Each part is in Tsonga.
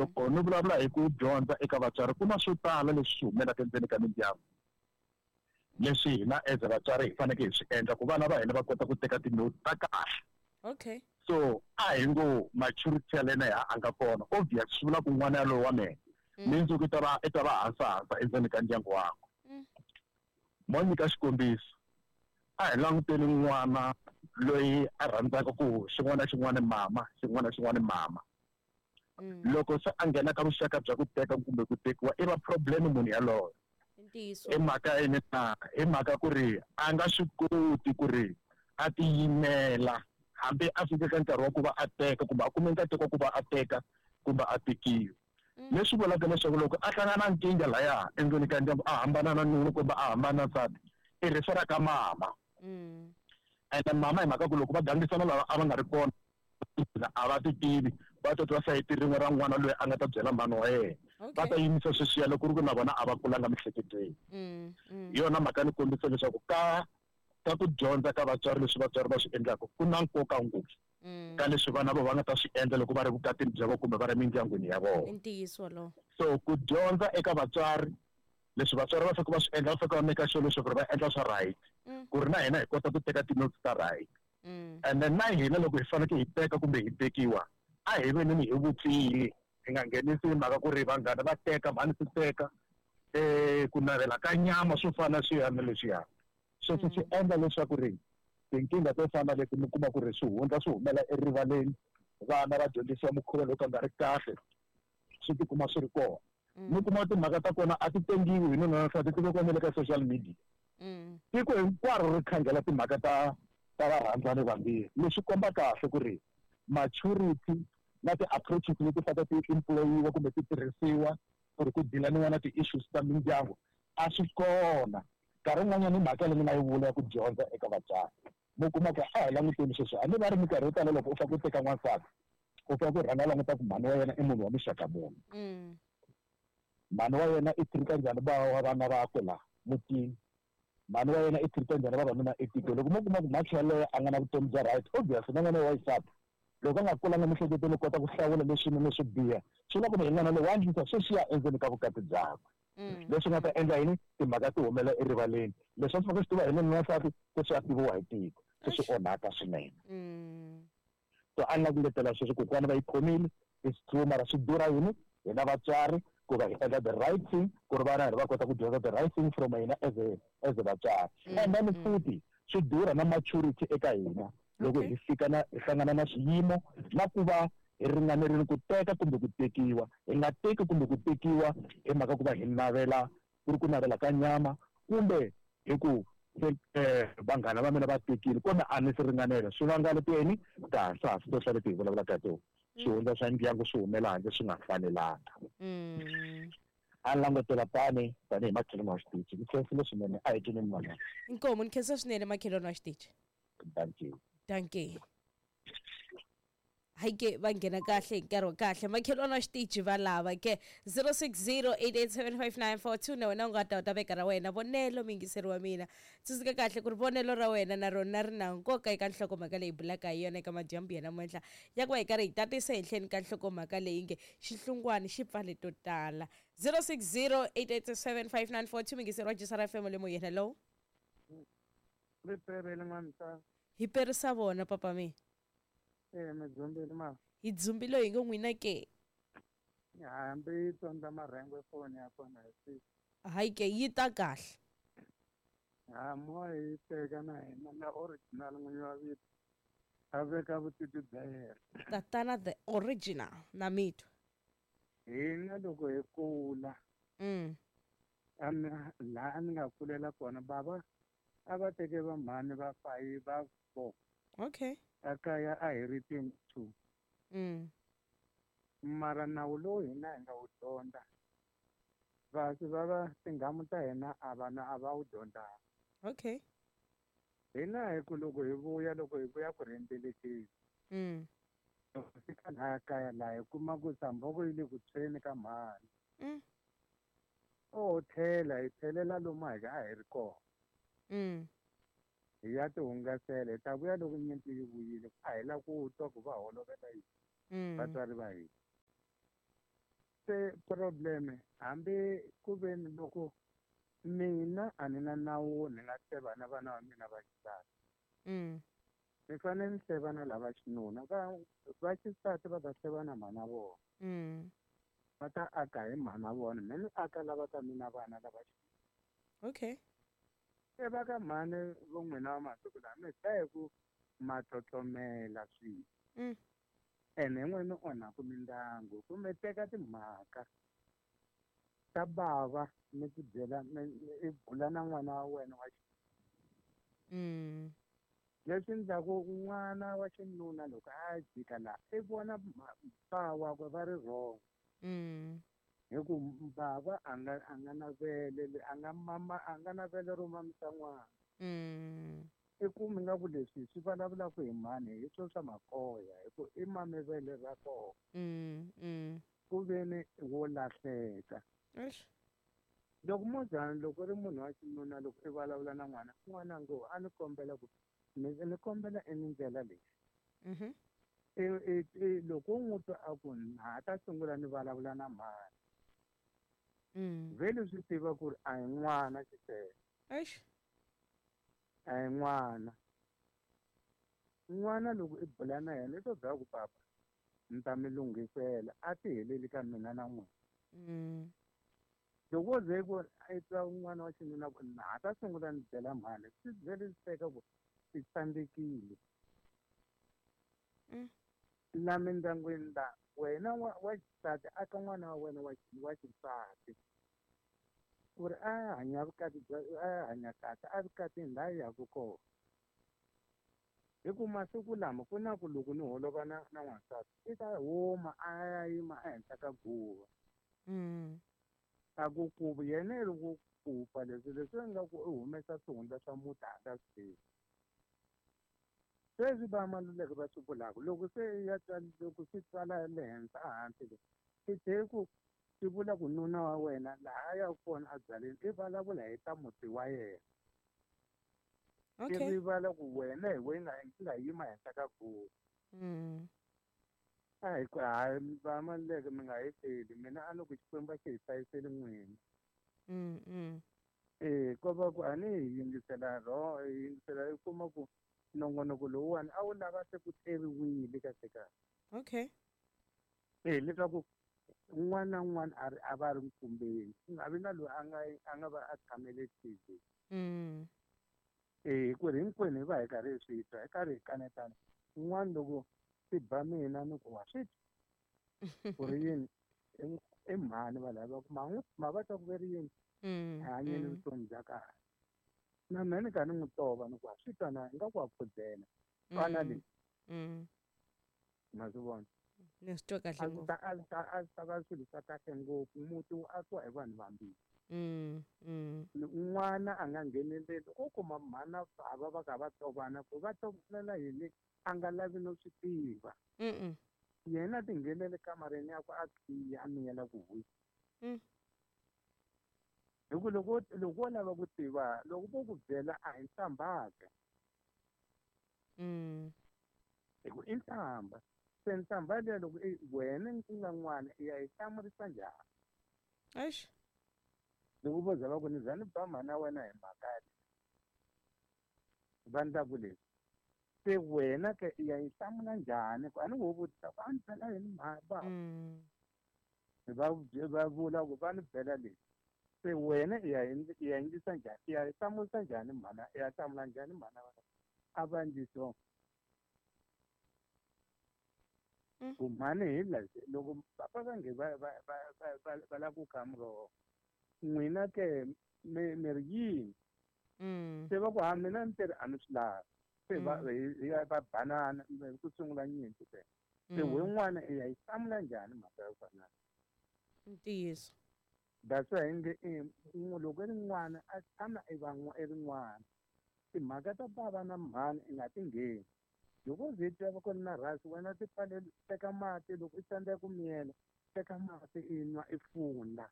Loko ni vulavula hi ku dyondza eka vatswari, ku na swo tala leswi swi humelaka endzeni ka mindyangu leswi hina as vatswari hi fanekele hi swi endla ku vana va hina va kota ku teka ti-note ta kahle. Okay. So a hi ngo maturity ya lena ya a nga kona, obvious swi vula ku n'wana yalowo wa mehe mindzuku i ta va hansa hansa endzeni ka ndyangu wakwe. Mo nyika xikombiso, a hi languteni n'wana loyi a rhandzaka ku xin'wana na xin'wana mama, xin'wana na xin'wana mama. Loko se a nghena ka vuxaka bya ku teka kumbe ku tekiwa, i va problem munhu yaloyo. I ntiyiso. I mhaka yini na? I mhaka ku ri a nga swi koti ku ri a tiyimela hambi a fike ka nkarhi wa ku va a teka kumbe a kume nkateko wa ku va a teka kumbe a tekiwa. Leswi vulaka leswaku loko a hlangana na nkingha laya endzeni ka ndyangu, a hambana na nuna kumbe a hambana na nsati, i refer ka mama. Ene mama, hi mhaka ku loko va gangisana lava a va nga ri kona, a va ti tivi, va ta twa sayiti rin'we ra n'wana loyi a nga ta byela mhani wa yena. Va ta yimisa sweswiya loko ku ri ku na vona a va kulanga miehleketweni. Hi yona mhaka ni kombisa leswaku ka ku dyondza ka vatswari, leswi vatswari va swi endlaka ku na nkoka ngopfu ka leswi vana va nga ta swi endla loko va ri vukatini bya vona kumbe va ri mindyangwini ya vona. I ntiyiso lowo. So ku dyondza eka vatswari, leswi vatswari va faneke va swi endla, va faneke va make sure leswaku ri va endla swa right ku ri na hina hi kota ku teka ti-notes ta right. And then na hina loko hi fanekele hi teka kumbe hi tekiwa, a hi veneni hi vupfile, hi nga nghenisi hi mhaka ku ri vanghana va teka, mhani swi teka, ku navela ka nyama, swo fana swiya na leswiya. Sweswo swi endla leswaku ri tinkingha to fana leti mi kuma ku ri swihundla swi humela erivaleni, vana va dyondzisiwa mukhuva lowu ka nga ri kahle, swi tikuma swi ri kona. Mi kuma timhaka ta kona a ti tengiwi hi nuna na nsati, ti vekiwa na le ka social media. Tiko hinkwaro ri khangela timhaka ta varhandzani vambirhi. Leswi komba kahle ku ri maturity na ti-approaches leti fanele ti employiwa kumbe ti tirhisiwa ku ri ku dealaniwa na ti-issues ta mindyangu a swi kona. Nkarhi wun'wanyana i mhaka leyi ni nga yi vula ya ku dyondza eka vatswari, mi kuma ku a hi languteni sweswi, hambi va ri minkarhi yo tala loko u fanele ku teka n'wansati, u fanele ku rhanga languta ku mhani wa yena i munhu wa muxaka muni. Mhani wa yena i treat njhani va vana vakwe laha mutini? Mhani wa yena i treat njhani vavanuna etikweni? Loko mo kuma ku mhakhi yaloye a nga na vutomi bya right, obviously na n'wana wa xisati loko a nga kulanga miehleketweni kota ku hlawula leswinene leswo biha, swi vula ku ri n'wana loyi wa endlisa sweswiya endzeni ka vukati byakwe. Leswi nga ta endla yini? Timhaka ti humela erivaleni, leswi a swi fanele swi tiva hi nuna na nsati se swi a tiviwa hi tiko, se swi onhaka swinene. So a ni la ku letela sweswo, kokwana va yi khomile, it's true, mara swi durha yini? Hina vatswari ku va hi endla the right thing ku ri vana va kota ku dyondza the right thing from hina as a vatswari. And then futhi swi durha na maturity eka hina loko hi fika na hi hlangana na swiyimo na ku va hi ringanerile ku teka kumbe ku tekiwa, hi nga teki kumbe ku tekiwa hi mhaka ku va hi navela, ku ri ku navela ka nyama, kumbe hi ku se vanghana va mina va tekile kumbe a ni swi ringanela. Swi vanga leti tihansasi to hlaya leti hi vulavulaka hi tona, swihundla swa ndyangu swi humela handle swi nga fanelanga. A langutela tani tanihi makhelwani wa xitichi, ni khensile swinene, a hi twineni van'wana. Inkomu, ni khensa swinene, makhelwani wa xitichi. Thank you. Dankie. Hayi ke, va nghena kahle hi nkarhi wa kahle, makhelwani wa xitichi va lava ke 0608875942. Na wena u nga ta u ta veka ra wena vonelo, muyingiseri wa mina. Tsundzuka kahle ku ri vonelo ra wena na rona ri na nkoka eka nhlokomhaka leyi bulaka hi yona eka madyambu ya namuntlha, ya ku va hi karhi hi tatisa henhleni ka nhlokomhaka leyi nge xihlungwani xi pfale to tala. 0608875942, muyingiseri wa Jisara FM le moyeni, hello. Riperele n'wamsa. Hi perisa vona, papa mi. Mi dzumbile ma. Hi dzumbile, hi ngo n'wina ke? Hambi yi tsondza marhengu foni ya kona hi siku. Hayi ke, yi ta kahle. Ha mo hi teka na hina na original n'winyi wa vito a veka vutivi bya yena. Tatana the original na mitwa. Hina loko hi kula, laha ni nga kulela kona, bava a va teke va mhani va five, va four. Ekaya a hi ri 22. Mara nawu lowu hina hi nga wu dyondza, vasi va va tinghamu ta hina a vana a va wu dyondzanga. Hina hi ku loko hi vuya ku rhendzelekeni, loko fika laha kaya laha hi kuma ku samboko yi le ku tshweni ka mhani. O tlhela hi tlhelela lomu a hi ri kona. Hi ya ti hungasela, hi ta vuya loko nyimpi yi vuyile. A hi la ku twa ku va holovela yini vatswari va hina. Se problem hambi ku ve ni loko mina a ni na nawu ni nga hleva na vana va mina va xisati. Ni fanele ni hleva na lava xinuna, va xisati va ta hleva na mhana vona. Va ta aka hi mhana vona, me ni aka lava ka mina vana lava xinuna. Okay. Se va ka mhani vo n'wina va masiku lawa mi dlaya hi ku ma tlotlomela swilo. Ene hi n'wina mi onhaku mindyangu ku mi teka timhaka ta bava mi ti byela i bula na n'wana wa wena wa Leswi endlaku n'wana wa xinuna loko a jika laha i vona ba wakwe va ri wrong. Hi ku bava a nga na vele, a nga mama, a nga na vele ro mamisa n'wana. I kumi nga ku leswi swi vulavulaka hi mhani hi swo swa makoya hi ku i mame vele ra kona. Ku ve ni wo lahleka. Eish. Loko mozana loko ri munhu wa xinuna loko i vulavula na n'wana, n'wana ngo a ni kombela ku ni kombela i ni ndlela leyi. Loko u n'wi twa a ku na ha ta sungula ni vulavula na mhani. Vhele swi tiva ku ri a hi n'wana xisele. Eish. A hi n'wana. N'wana loko i bula na yena i to byela ku papa ni ta mi lunghisela, a ti heleli ka mina na n'wina. Loko wo ze ku i twa n'wana wa xinuna ku na ha ta sungula ni byela mhani, swi vhele swi teka ku i tsandzekile. La mindyangwini la wena wa xisati aka n'wana wa wena wa xisati ku ri a hanya vukati bya, a hanya kahle a vukatini laha yaka kona. Hi ku masiku lama ku na ku loko ni holova na n'wansati i ta huma a ya yima ehenhla ka guva. A ku ku yena i ri ku kupa leswi leswi nga ku i humesa swihundla swa muti a nga swi tivi. Sweswi va Maluleke va swi vulaka loko se ya tswala, loko swi tswala le henhla ehansi le, swi tlhe ku swi vula ku nuna wa wena laha a yaka kona a byaleni i vulavula hi ta muti wa yena. I rivala ku wena hi wena i nga yima henhla ka guva. A hi ku hayi va Maluleke mi nga heteli, mina a ni ku Xikwembu a xi hi hlayiseli n'wina. Ko va ku a ni hi yingisela ro, hi yingisela i kuma ku nongonoko lowuwani a wu lava se ku tleriwile kahle kahle. Okay. Leswaku un'wana na un'wana a ri a va ri nkumbeni, ku nga vi na loyi a nga va a tshamele TV. Ku ri hinkwenu hi va hi karhi hi swi twa, hi karhi hi kanetana. Un'wana loko swi ba mina ni ku wa swi twa. Ku ri yini? I mhani va lava ku ma n'wi, ma va twa ku ve ri yini? Hi hanyeni vutomi bya kahle. Na mina ni karhi ni n'wi tova ni ku wa swi twa na ingaku wa khudzela. Twana leyi. Ma swi vona? Ni swi twa kahle A swi ngopfu. ta, a swi ta, a swi ta va swilo swa kahle ngopfu. Muti wu akiwa hi vanhu vambirhi. N'wana a nga ngheneleli, u kuma mhana bava va kha va tovana, ku va tovanela yini a nga lavi no swi tiva. Yena a ti nghenele kamareni yakwe a khiya a miyela ku huyi. Hi ku loko wo lava ku tiva, loko vo ku byela a hi nhlambaka. Hi ku i nhlamba. Se nhlamba liya loko i wena u nga n'wana i ya yi hlamurisa njhani? Eish. Loko vo za va ku ni za ni ba mhana wena hi mhaka leyi. Va ndla ku leswi. Se wena ke i ya yi hlamula njhani? Ku a ni wo vutisa ku a ni byela yini mhana ba? Va vula ku va ni byela leswi. Se wena i ya i ya endlisa njhani? I ya yi hlamurisa njhani mhana? I ya hlamula njhani mhana wena? A va endli swona. Ku mhani hi la loko papa va nge va lava ku kha muroho. N'wina ke mi ri yini? Se va ku ha mina ni teri a ni swi lavi. Se hi ya va banana, ku sungula nyimpi se. Se we n'wana i ya yi hlamula njhani mhaka yo fana? Ntiyiso. That's why nge loko i ri n'wana a tshama i va i ri n'wana. Timhaka ta bava na mhani i nga ti ngheni. Loko u ze twa va ku ri na rhasi wena ti pfaleli, teka mati loko i tsandzeka ku miyela, teka mati i nwa i funda.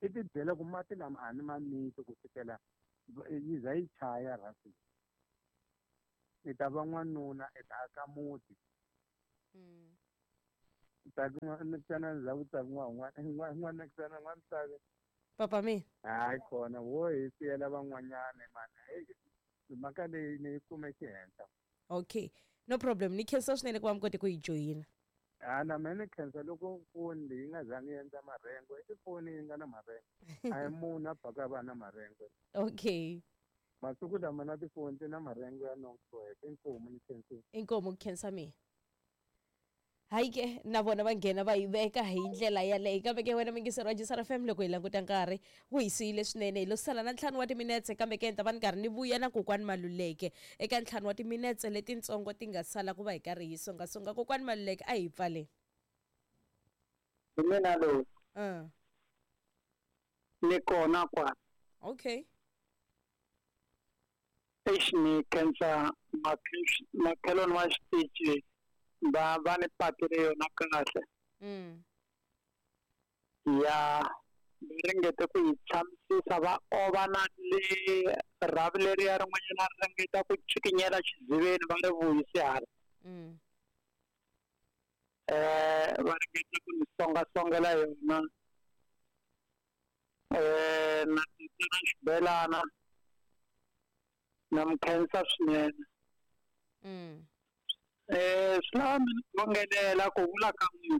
I ti byela ku mati lama a ni ma miti ku fikela yi za yi chaya rhasi. I ta va n'wanuna, i ta aka muti. Papa mina. Hayi kona wo hi siyela van'wanyana mani. Mhaka leyi ni yi kume xihenhla. Okay. No problem. Ni khensa swinene ku va mi kote ku yi joyina. A na mina ni khensa loko foni leyi nga zangi yi endla marengo, i foni yi nga na marengo. A hi munhu a baka va na marengo. Okay. Masiku lama na tifoni ti na marengo ya nongoheka. Inkomu ni khensile. Inkomu ku khensa mina. Hayi ke na vona va nghena va yi veka hi ndlela yaleyo kambe ke wena mingiseri wa Jisara FM loko hi languta nkarhi wu hi siyile swinene hi lo sala na 5 wa timinetse kambe ke ni ta va ni karhi ni vuya na kokwani Maluleke eka 5 wa timinetse letitsongo ti nga sala ku va hi karhi hi songasonga kokwani Maluleke a hi pfaleni. Hi mina loyi. Ni kona kwala. Okay. Eish ni khensa makhelwani wa xitichi va ni patile yona kahle. Ya ringete ku yi tshamisisa va ova na le rhavi leriya rin'wanyana ri ringeta ku cikinyela xiziveni va ri vuyise hala. Va ringeta ku ni songasongela yona. Na titana xibelana na mi khensa swinene. Swi lava mi ni khongelela ku vula ka n'wina.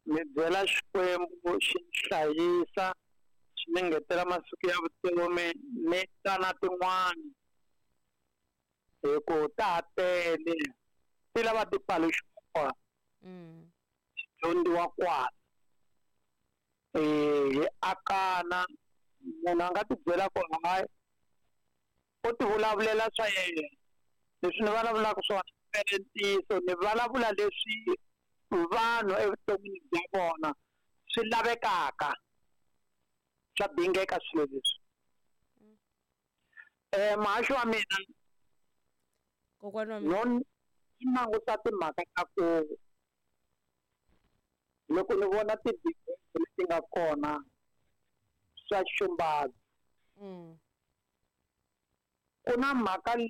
Mi byela Xikwembu xi ni hlayisa, xi ni ngetela masiku ya vutomi ni ta na tin'wani. Hi ku ta ha tele ti lava ti paluxiwa kwala. Ti dyondziwa kwala. Hi akana munhu a nga ti byela ku hayi u ti vulavulela swa yena. Leswi ni vulavulaka swona i ntiyiso, ni vulavula leswi vanhu evuton'wini bya vona swi lavekaka, swa dingeka swilo leswi. Muhaxi wa mina kokwana wa mina no ni languta timhaka ta ku loko ni vona ti-divorce leti nga kona swa xumbaza. Ku na mhaka leyi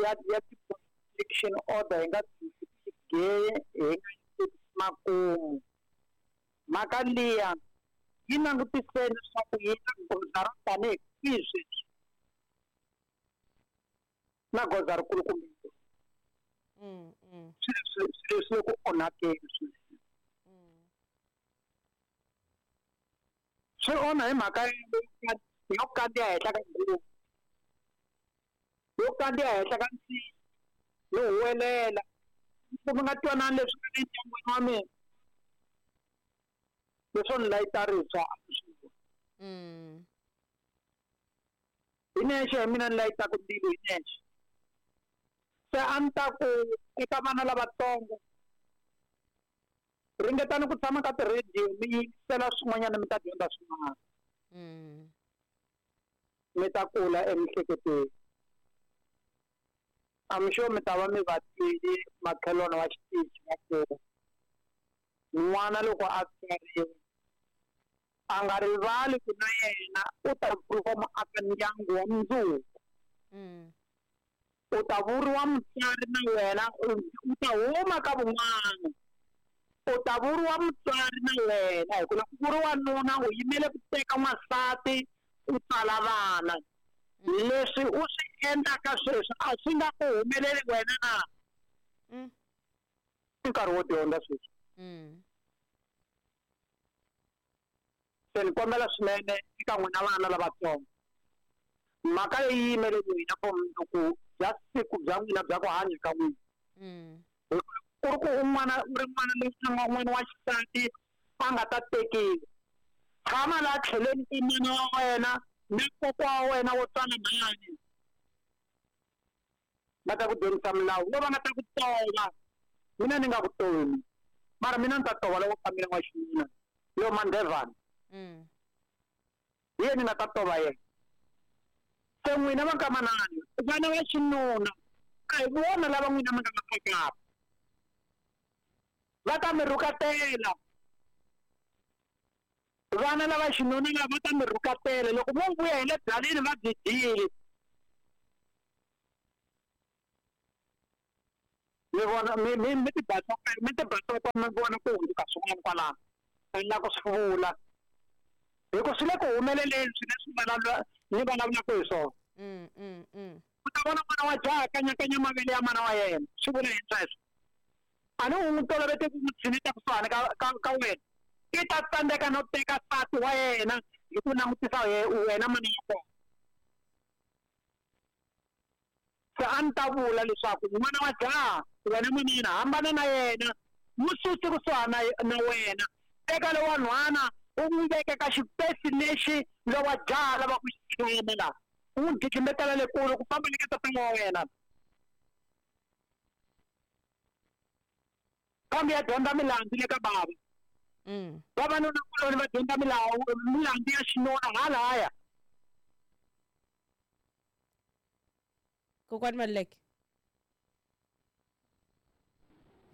ya ti-protection order hi nga geye hi nga yi makumu. Mhaka liya yi langutiseni leswaku yi na goza ro tanihi kwihi sweswi, na goza rikulukumba. Swilo leswi le ku onhakeni swinene. Swi onha hi mhaka yo kandziya henhla ka nguvu, yo kandziya henhla ka nsinya, yo huwelela. Ku mi nga twanani leswi nga le ndyangwini wa mina, leswo ni layita ribye a swi voni. Hi nexe hi mina ni layitaka ndzilo hi nexe. Se a ni ta ku eka vana lavatsongo, ringetani ku tshama ka ti-radio mi yingisela swin'wanyana mi ta dyondza swin'wana. Mi ta kula emiehleketweni. I'm sure mi ta va mi va twile makhelwani wa xitichi va ku n'wana loko a tswariwa a nga rivali ku na yena u ta vuriwa muaka ndyangu wa mundzuku. U ta vuriwa mutswari na wena, u ta huma ka vun'wana. U ta vuriwa mutswari na wena, hi ku loko ku vuriwa nuna u yimele ku teka n'wansati u tswala vana. Leswi u swi endlaka sweswi a swi nga ku humeleli wena na? I nkarhi wo dyondza sweswi. Se ni kombela swinene eka n'wina vana lavatsongo, mhaka leyi yimele n'wina for mundzuku bya siku bya n'wina bya ku hanya ka n'wina. Ku ri ku un'wana u ri n'wana loyi a nga n'wana wa xisati a nga ta tekiwa, tshama laha tlhelweni ka mana wa wena na kokwa wa wena wo tswala mhani, va ta ku dyondzisa milawu lo va nga ta ku tova. Mina ni nga ku tomi, mara mina ni ta tova loko ka mina wa xinuna lo Mandevana. Hi yena ni nga ta tova yena. Se n'wina va ka manana, vana va xinuna a hi vona lava n'wina mi nga va akaka, va ta mi rhukatela. Vana lava xinuna lava va ta mi rhukatela loko vo vuya hi le byaleni va byi dyile. Mi vona mi mi mi ti basopa mi ti basopa mi vona ku hundzuka swin'wana kwalano. A ni la ku swi vula. Hi ku swi le ku humeleleni swilo leswi vulavula ni vulavulaka hi swona. U ta vona n'wana wa jaha kanyakanya mavele ya mana wa yena. Swi vula yini sweswo? A ni u n'wi tolovete ku n'wi tshineta kusuhani ka ka ka wena. I ta tsandzeka no teka nsati wa yena hi ku langutisa wena mana ya kona. Se a ni ta vula leswaku n'wana wa jaha wena manana hambana na yena, n'wi susi kusuhani na wena. Teka lowa nhwana u n'wi veka ka xipesi lexi lowa jaha a lavaka ku xi tshama laha, u n'wi dlidlimbetela le kule ku famba le ka tatana wa wena. Kambe ya dyondza milandzu le ka bava. Vavanuna-kuloni va dyondza milawu milandzu ya xinuna halahaya. Kokwani Maluleke.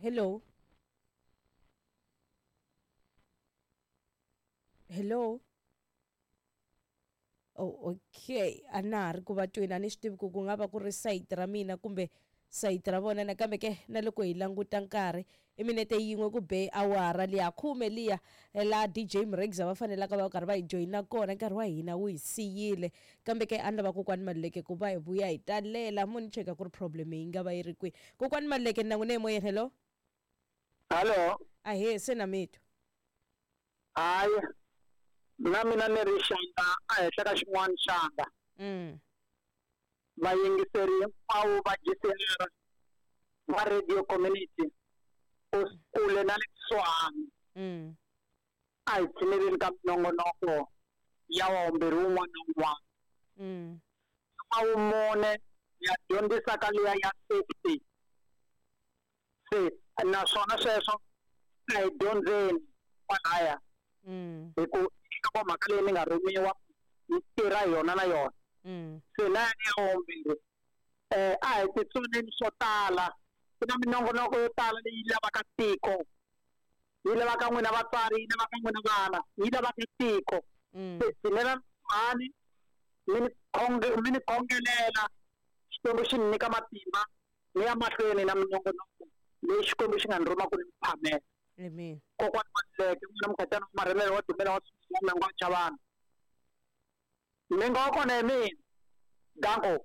Hello. Hello. Oh, okay. A na ha ri ku va tweni a ni swi tivi ku ku nga va ku ri sayiti ra mina kumbe sayiti ra vona nakambe ke na loko hi languta nkarhi i minete yin'we ku be awara liya khume liya laha DJ Mregza va fanelaka va karhi va hi joyina kona nkarhi wa hina wu hi siyile kambe ke a ni lava kokwani Maluleke ku va hi vuya hi talela mo ni cheka ku ri problem yi nga va yi ri kwihi kokwani Maluleke ni na n'wina emoyeni hello. Hallo. Ahee se na mi twa. Hayi na mina ni ri xandla ehenhla ka xin'wana xandla. Vayingiseri hinkwavo va GCR va Radio Community ku kule na le kusuhani a hi tshineleni ka minongonoko ya wawumbirhi wun'wana na wun'wana. Wa vumune ya dyondzisa ka liya ya safety. Se naswona sweswo a hi dyondzeni kwalaya hi ku nhlokomhaka leyi ni nga rhumiwa ni tirha hi yona na yona. Se na ya wumbirhi a hi titsoneni swo tala ku na minongonoko yo tala leyi lavaka tiko yi lavaka n'wina vatswari yi lavaka n'wina vana yi lavaka tiko. Se tshinela mhani mi ni mi ni khongelela Xikwembu xi ni nyika matimba ni ya mahlweni na minongonoko leyi Xikwembu xi nga ni rhuma ku ni mi phamela. Amen. Kokwani Maluleke n'wina Mukhatana wa Marhelele wa Dumela wa Swivilana Mengwa wa Chavani. Mengwa wa kona hi mina. Danko.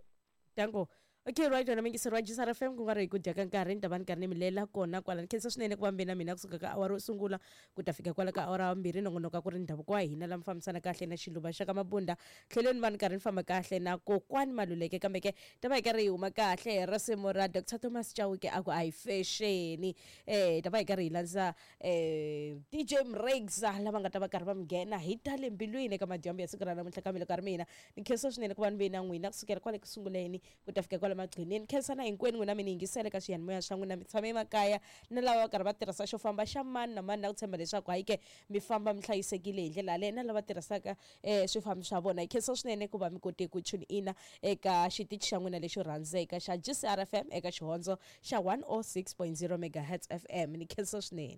Danko. Okay, right wena mingiseri wa GCR FM ku nga ri hi ku dya ka nkarhi ni ta va ni karhi ni mi lela kona kwala ni khensa swinene ku va mi ve na mina kusuka ka awara yo sungula ku ta fika kwala ka awara ya vumbirhi nongonoko a ku ri ndhavuko wa hina la mi fambisana kahle na xiluva xa ka mabunda tlhelweni va ni karhi ni famba kahle na kokwani Maluleke kambe ke ta va hi karhi hi huma kahle hi risimu ra Dr Thomas Chauke a ku a hi fexeni ta va hi karhi hi landza DJ Mregza lava nga ta va karhi va mi nghena hi ta le mbilwini eka madyambu ya siku ra namuntlha kambe loko a ri mina ni khensa swinene ku va ni ve na n'wina kusukela kwale ku sunguleni ku ta fika kwale magcineni khensa na hinkwenu n'wina mi ni yingisele ka swiyanimoya swa n'wina mi tshame emakaya na lava va karhi va tirhisa xo famba xa mani na mani na ku tshemba leswaku hayi ke mi famba mi hlayisekile hi ndlela yaleyo na lava tirhisaka swifambi swa vona hi khensa swinene ku va mi kote ku tune ina eka xitichi xa n'wina lexo rhandzeka xa GCR FM eka xihondzo xa 106.0 megahertz FM ni khensa swinene.